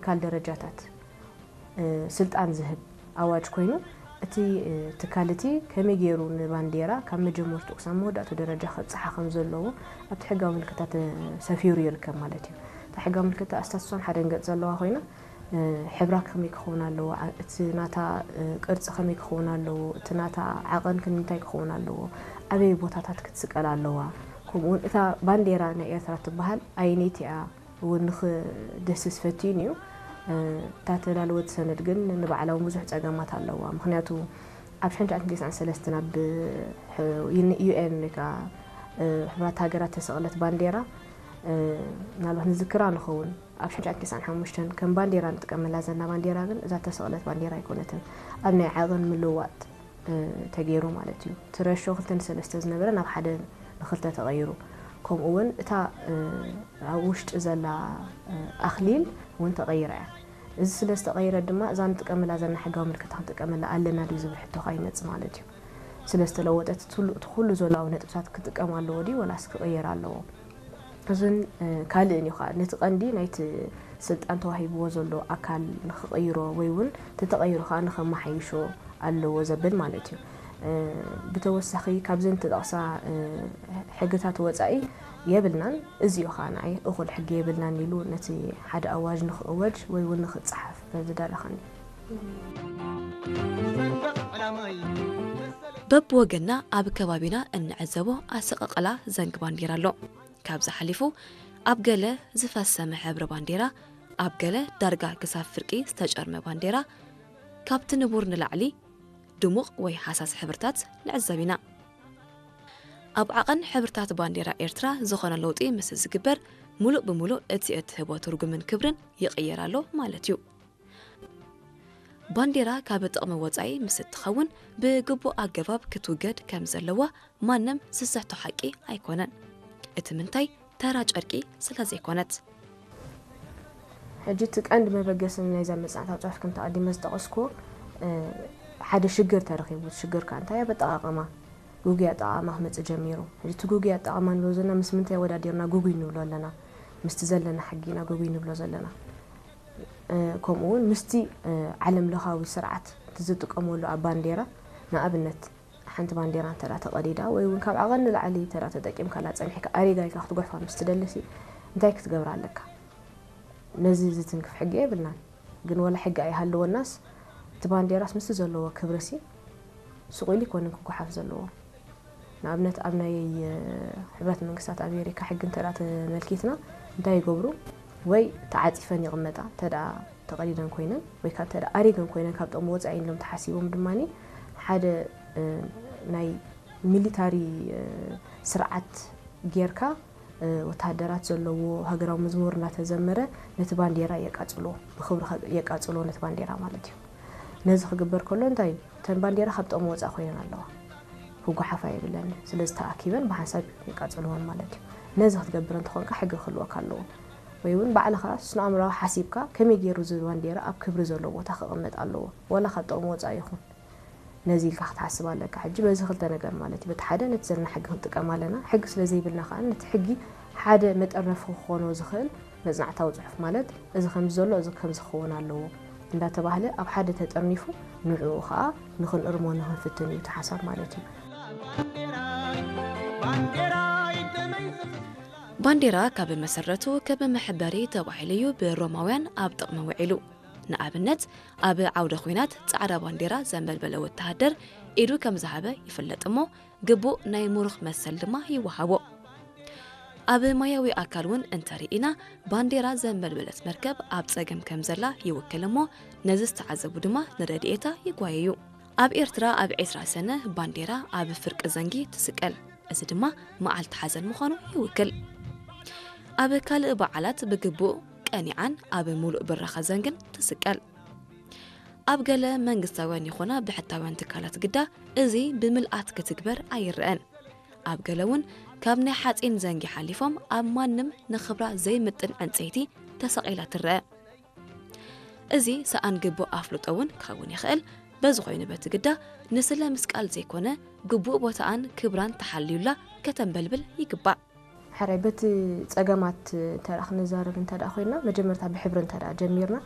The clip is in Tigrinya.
ትካል ደረጃታት ስልጣን ዝህብ ኣዋጅ ኮይኑ፣ እቲ ትካል እቲ ከመይ ገይሩ ንባንዴራ ካብ መጀመርትኡ ክሳብ መወዳእቱ ደረጃ ከብፅሓ ከም ዘለዎ ኣብቲ ሕጋዊ ምልክታ ተሰፊሩ ይርከብ ማለት እዩ። እታ ሕጋዊ ምልክታ ኣስታት እሷን ሓደን ገፅ ዘለዋ ኮይና፣ ሕብራ ከመይ ክኸውን ኣለዎ፣ እቲ ናታ ቅርፂ ከመይ ክኸውን ኣለዎ፣ እቲ ናታ ዓቐን ክንምንታይ ክኸውን ኣለዎ፣ ኣበይ ቦታታት ክትስቀል ኣለዋ፣ ከምኡውን እታ ባንዴራ ናይ ኤርትራ ትበሃል ኣየነይቲ እያ እውን ንክደስስ ፈቲኑ እዩ። እታ ተዳለወት ሰነድ ግን ንባዕላ እውን ብዙሕ ፀገማት ኣለዋ። ምክንያቱ ኣብ ሽሕን ትሽዓን ሰለስተን ኣብ ዩኤን ወይ ከዓ ሕቡራት ሃገራት ተሰቕለት ባንዴራ፣ ምናልባት ንዝክራ ንኸውን፣ ኣብ ሽሕን ትሽዓን ሓሙሽተን ከም ባንዴራ ንጥቀመላ ዘለና ባንዴራ ግን እዛ ተሰቕለት ባንዴራ ኣይኮነትን። ኣብ ናይ ዓቐን ምልውዋጥ ተገይሩ ማለት እዩ። እቲ ረሾ ክልተ ንሰለስተ ዝነበረ ናብ ሓደ ንክልተ ተቐይሩ። ከምኡ እውን እታ ኣብ ውሽጢ ዘላ ኣኽሊል እውን ተቐይራ እያ። እዚ ስለ ዝተቐይረ ድማ እዛ ንጥቀመላ ዘለና ሕጋዊ ምልክታ ክንጥቀመላ ኣለና ድዩ ዝብል ሕቶ ከዓ ይመፅእ ማለት እዩ። ስለ ዝተለወጠት እቲ ኩሉ ዘሎ ነጥብታት ክጥቀም ኣለዎ ድዩ ወላስ ክቕየር ኣለዎ? እዝን ካልእን እዩ ከዓ ነቲ ቀንዲ ናይቲ ስልጣን ተዋሂብዎ ዘሎ ኣካል ንክቕይሮ ወይ እውን ተተቐይሩ ከዓ ንከመሓይሾ ኣለዎ ዘብል ማለት እዩ። ብተወሳኺ ካብዘን ተጠቕሳ ሕግታት ወፃኢ የብልናን፣ እዚ እዩ ከዓ ንዓይ እኹል ሕጊ የብልናን ኢሉ ነቲ ሓደ ኣዋጅ ንክእወጅ ወይ እውን ንክፀሓፍ ዝደረኸኒ። በብወገንና ኣብ ከባቢና እንዕዘቦ ኣሰቃቕላ ዘንጊ ባንዴራ ኣሎ። ካብዚ ሓሊፉ ኣብ ገለ ዝፈሰመ ሕብሪ ባንዴራ፣ ኣብ ገለ ዳርጋ ክሳብ ፍርቂ ዝተጨርመ ባንዴራ፣ ካብቲ ንቡር ንላዕሊ ድሙቕ ወይ ሃሳስ ሕብርታት ንዕዘብ ኢና። ኣብ ዓቐን ሕብርታት ባንዴራ ኤርትራ ዝኾነ ለውጢ ምስ ዝግበር፣ ሙሉእ ብሙሉእ እቲ እትህቦ ትርጉምን ክብርን ይቕየር ኣሎ ማለት እዩ። ባንዴራ ካብ ጥቕሚ ወጻኢ ምስ እትኸውን ብግቡእ ኣገባብ ክትውገድ ከም ዘለዋ ማንም ዝስሕቶ ሓቂ ኣይኮነን። እቲ ምንታይ ተራ ጨርቂ ስለ ዘይኮነት። ሕጂ እቲ ቀንዲ መበገሲ ናይዛ መጽናዕታዊ ጽሑፍ ከምቲ ኣቐዲመ ዝጠቐስኩዎ ሓደ ሽግር ተረኺቡ። እቲ ሽግር ከኣ እንታይ ኣብ ኣጠቓቕማ፣ ግጉይ ኣጠቓቕማ ክመጽእ ጀሚሩ። ሕጂ እቲ ግጉይ ኣጠቓቕማ ንብሎ ዘለና ምስ ምንታይ ኣወዳዲርና ግጉይ ንብሎ ኣለና? ምስቲ ዘለና ሕጊ ኢና ግጉይ ንብሎ ዘለና። ከምኡ እውን ምስቲ ዓለም ለኻዊ ስርዓት እቲ ዝጥቀመሉ ኣብ ባንዴራ፣ ንኣብነት ሓንቲ ባንዴራ እንተ ተቐዲዳ ወይ እውን ካብ ዓቐን ንላዕሊ እንተ ተጠቂምካላ ጸኒሕካ ኣሪጋ ኢልካ ክትጉሕፋ ምስ ትደልሲ እንታይ ክትገብር ኣለካ? ነዚ ዝትንክፍ ሕጊ የብልናን። ግን ወላ ሕጊ ኣይሃለወናስ እቲ ባንዴራስ ምስቲ ዘለዎ ክብርሲ ስቕ ኢሉ ኣይኮነን ክጉሓፍ ዘለዎ። ንኣብነት ኣብ ናይ ሕብረት መንግስታት ኣሜሪካ ሕጊ እንተ ተመልኪትና እንታይ ይገብሩ? ወይ ተዓፂፈን ይቕመጣ እንተ ተቐዲደን ኮይነን ወይ ከዓ እንተ ኣሪገን ኮይነን ካብ ጥቕሚ ወፃኢ ኢሎም ተሓሲቦም ድማ ሓደ ናይ ሚሊታሪ ስርዓት ጌርካ ወታደራት ዘለዎ ሃገራዊ መዝሙር እናተዘመረ ነቲ ባንዴራ የቃፅሎ፣ ብክብሪ የቃፅሎ ነቲ ባንዴራ ማለት እዩ። ነዚ ክግበር ከሎ እንታይ እዩ? እተን ባንዴራ ካብ ጥቕሚ ወፃእ ኮይነን ኣለዋ። ክጓሓፋ የብለን። ስለዚ ተኣኪበን ብሓንሳብ የቃፅልወን ማለት እዩ። ነዚ ክትገብር እንተኾንካ ሕጊ ክህልወካ ኣለዎ። ወይ እውን ባዕልኻ ስነ ኣእምሮዊ ሓሲብካ ከመይ ገይሩ እዚ ባንዴራ ኣብ ክብሪ ዘለዎ ቦታ ክቕመጥ ኣለዎ፣ ዋላ ካብ ጥቕሚ ወፃኢ ይኹን። ነዚ ኢልካ ክትሓስብ ኣለካ። ሕጂ በዚ ክልተ ነገር ማለት እዩ። በቲ ሓደ ነቲ ዘለና ሕጊ ክንጥቀም ኣለና። ሕጊ ስለ ዘይብልና ከዓ ነቲ ሕጊ ሓደ መጠርነፊ ክኾኖ ዝኽእል መጽናዕታዊ ጽሑፍ ማለት እዚ ከምዚ ዘሎ እዚ ከምዚ ክኸውን ኣለዎ እንዳተባህለ ኣብ ሓደ ተጠርኒፉ ንዕኡ ከዓ ንኽንእርሞ ንኽንፍትን እዩ እቲ ሓሳብ ማለት እዩ። ባንዴራ ካብ መሰረቱ ከም መሕበሪ ተባሂሉ እዩ ብሮማውያን ኣብ ጥቕሚ ውዒሉ። ንኣብነት ኣብ ዓውደ ኹናት ጻዕዳ ባንዴራ ዘንበልበለ ወተሃደር ኢዱ ከም ዝሃበ ይፍለጥ እሞ ግቡእ ናይ ምሩኽ መሰል ድማ ይወሃቦ። ኣብ ማያዊ ኣካል እውን እንተርኢና ባንዴራ ዘንበልበለት መርከብ ኣብ ጸገም ከም ዘላ ይውክል እሞ ነዚ ዝተዓዘቡ ድማ ንረድኤታ ይጓየዩ። ኣብ ኤርትራ ኣብ ዕስራ ሰነ ባንዴራ ኣብ ፍርቂ ዘንጊ ትስቀል። እዚ ድማ መዓልቲ ሓዘን ምዃኑ ይውክል። ኣብ ካልእ በዓላት ብግቡእ ቀኒዓን ኣብ ምሉእ ብራኸ ዘንግን ትስቀል። ኣብ ገለ መንግስታውያን ይኹና ብሕታውያን ትካላት ግዳ እዚ ብምልኣት ክትግበር ኣይረኣን። ኣብ ገለ እውን ካብ ናይ ሓጺን ዘንጊ ሓሊፎም ኣብ ማንም ንኽብራ ዘይምጥን ዕንጸይቲ ተሰቒላ ትረአ። እዚ ሰኣን ግቡእ ኣፍልጦ እውን ክኸውን ይኽእል። በዚ ኮይኑ በቲ ግዳ ንስለ ምስቃል ዘይኮነ ግቡእ ቦታኣን ክብራን ተሓልዩላ ከተንበልብል ይግባእ። ሕራይ በቲ ጸገማት እንተ ደኣ ክንዛረብ እንተ ደኣ ኮይና፣ መጀመርታ ብሕብሪ እንተ ደኣ ጀሚርና፣